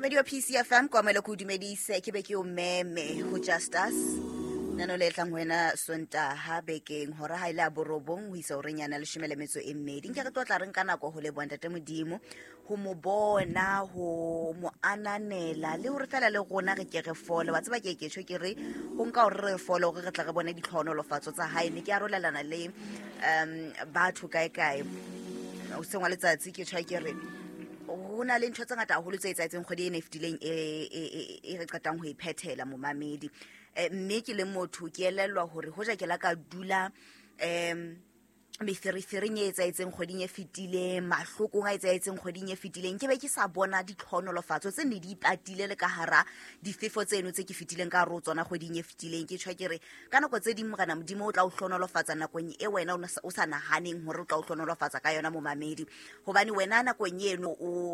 Radio PCFM kwamele ko dumedise, ke be ke o meme ho Just Us, nano le tlang ho wena Sontaha bekeng hora ha ile a 9 ho isa horeng yana 12. Nke re tlo tla re nka nako ho leboha Ntate Modimo, ho mo bona, ho mo ananela, le hore fela le rona re ke re fole. Wa tseba ke tjho ke re ho nka hore re fole hore re tla re bone ditlhohonolofatso tsa hae. Ne ke arolelana le batho kae kae hoseng wa letsatsi, ke tjho ke re ho na le ntho tse ngata haholo tse etsahetseng kgwedi ena e fetileng e re qetang ho e phethela, momamedi. Mme ke le motho ke elellwa hore hoja ke la ka dula meferefereng e etsahetseng kgweding e fetileng, mahlokong a etsahetseng kgweding e fetileng, ke be ke sa bona ditlhohonolofatso tse ne di ipatile le ka hara difefo tseno tse ke fetileng ka hare ho tsona kgweding e fetileng. Ke tjho ke re ka nako tse ding Morena Modimo o tla o hlohonolofatsa nakong e wena o sa nahaneng hore o tla o hlohonolofatsa ka yona, momamedi, hobane wena nakong eno o